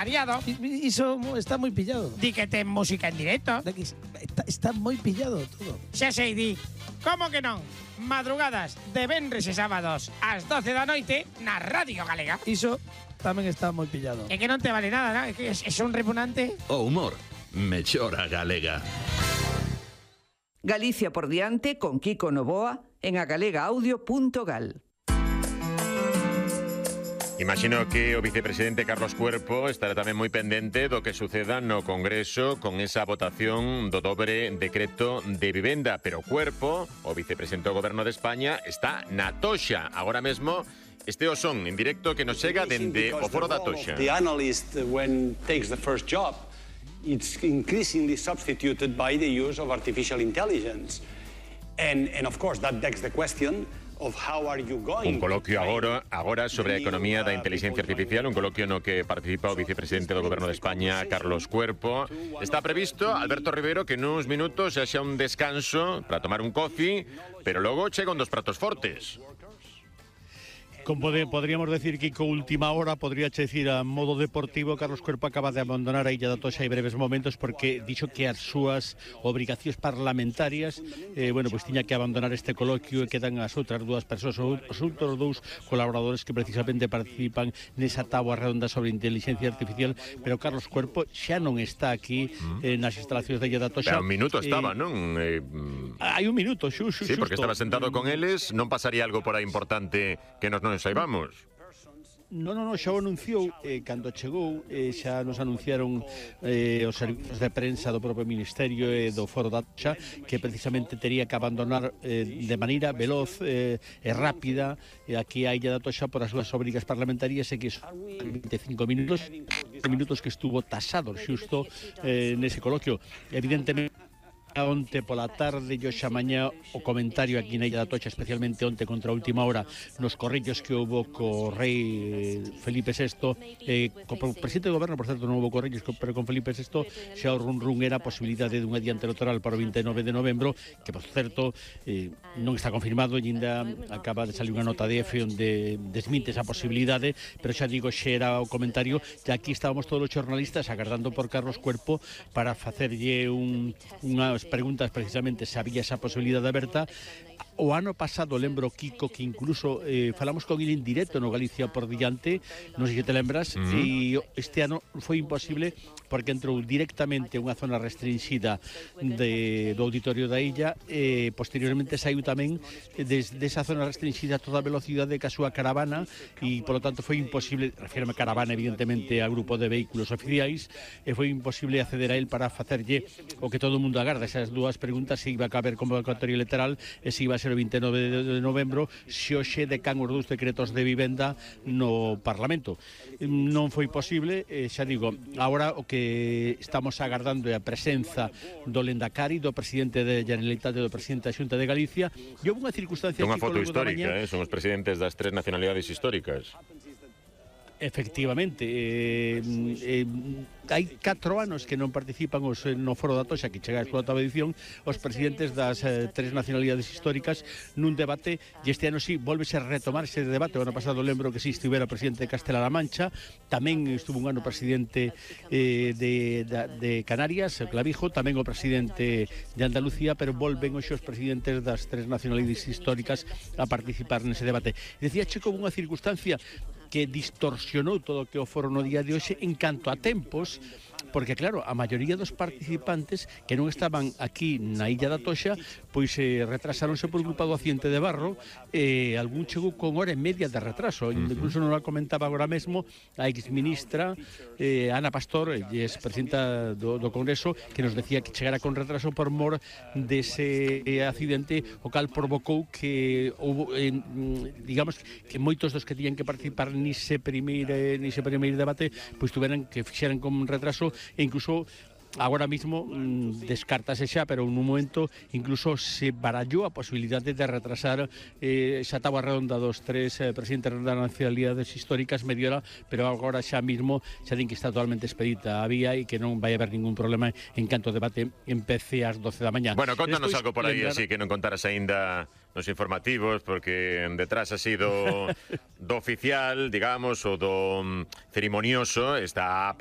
Variado. Iso está moi pillado. Di que ten música en directo. Está moi pillado todo. Xa sei, di. Como que non? Madrugadas de venres e sábados ás 12 da noite na Radio Galega. Iso tamén está moi pillado. É que non te vale nada, ¿no? É que é un repugnante. O humor mellora galega. Galicia por diante con Kiko Novoa en agalegaudio.gal. Imagino que o vicepresidente Carlos Cuerpo estará tamén moi pendente do que suceda no Congreso con esa votación do dobre decreto de vivenda. Pero Cuerpo, o vicepresidente do Goberno de España, está na toxa. Agora mesmo, este o son en directo que nos chega dende o foro da toxa. The analyst, when takes the first job, it's increasingly substituted by the use of artificial intelligence. And of course, that begs the question of how are you going. Un coloquio agora sobre a economía da inteligencia artificial, un coloquio no que participa o vicepresidente do Goberno de España, Carlos Cuerpo. Está previsto, Alberto Rivero, que nuns minutos haxa un descanso para tomar un coffee, pero logo chegan dos pratos fortes. Como podríamos decir que con última hora, podría decir a modo deportivo, Carlos Cuerpo acaba de abandonar a Illa da Toxa en breves momentos porque dixo que as súas obrigacións parlamentarias pues tiña que abandonar este coloquio e quedan as outras dúas persoas, os outros dous colaboradores que precisamente participan nesa táboa redonda sobre inteligencia artificial, pero Carlos Cuerpo xa non está aquí nas instalacións da Illa da Toxa. Pero un minuto estaba, non? Hai un minuto, xusto. Sí, porque estaba sentado con eles, non pasaría algo por aí importante que nos non saibamos. Non, xa o anunciou cando chegou, xa nos anunciaron os servizos de prensa do propio Ministerio e do Foro da Toxa que precisamente tería que abandonar de maneira veloz e rápida aquí a Illa da Toxa por as súas obrigas parlamentarias e que son 25 minutos que estuvo tasado xusto nese coloquio. Evidentemente onte pola tarde e xa mañá o comentario aquí na Illa da Toxa, especialmente onte contra a última hora nos corrillos que houbo co rei Felipe VI co presidente do goberno, por certo non houbo corrillos, pero con Felipe VI xa o run era a posibilidade dun adiante electoral para o 29 de novembro, que por certo non está confirmado e ainda acaba de salir unha nota de EFE onde desminte esa posibilidade, pero xa digo, xa era o comentario e aquí estábamos todos os xornalistas agardando por Carlos Cuerpo para facerlle unhas preguntas precisamente se había esa posibilidade aberta. O ano pasado, lembro, Kiko, que incluso falamos con ele en directo no Galicia por diante, non sei se te lembras, e este ano foi imposible porque entrou directamente unha zona restringida do auditorio da illa e posteriormente saiu tamén desde esa zona restringida a toda velocidade ca súa caravana e, polo tanto, foi imposible, refírame a caravana, evidentemente, a grupo de vehículos oficiais, e foi imposible acceder a él para facerlle o que todo o mundo agarda, esas dúas preguntas, se iba a caber convocatoria electoral e se iba a ser o 29 de novembro, se hoxe decan os dous decretos de vivenda no Parlamento. Non foi posible, xa digo, agora o que estamos agardando é a presenza do Lendakari, do presidente da Generalitat e do presidente da Xunta de Galicia, e houve unha circunstancia... Unha foto histórica, son os presidentes das tres nacionalidades históricas. Efectivamente, hai 4 anos que non participan no Foro da Toxa, que chega a súa oitava edición, os presidentes das tres nacionalidades históricas nun debate, e este ano sí, volvese a retomar ese debate. O ano pasado lembro que sí estivera o presidente de Castela-La Mancha, tamén estuvo un ano presidente de Canarias, Clavijo, tamén o presidente de Andalucía, pero volven hoxe os presidentes das tres nacionalidades históricas a participar nese debate. Decía Checo unha circunstancia que distorsionou todo o que o foro no día de hoxe en canto a tempos, porque claro, a maioría dos participantes que non estaban aquí na Illa da Toxa, pois retrasáronse por culpa do accidente de Barro, algún chegou con hora e media de retraso, incluso non a comentaba agora mesmo a exministra Ana Pastor, expresidenta do Congreso, que nos decía que chegara con retraso por mor dese accidente, o cal provocou que houve, digamos, que moitos dos que tiñan que participar nise primeiro debate, pois tuveran que fixeran con retraso, e incluso agora mismo descártase xa, pero nun momento incluso se barallou a posibilidade de retrasar esa táboa redonda dos tres presidentes das nacionalidades históricas media hora, pero agora xa mismo xa din que está totalmente expedita a vía e que non vai haber ningún problema en canto o debate empece ás 12 da mañá. Bueno, contanos algo por aí, así que non contaras aínda nos informativos, porque detrás así do oficial, digamos, o do cerimonioso, está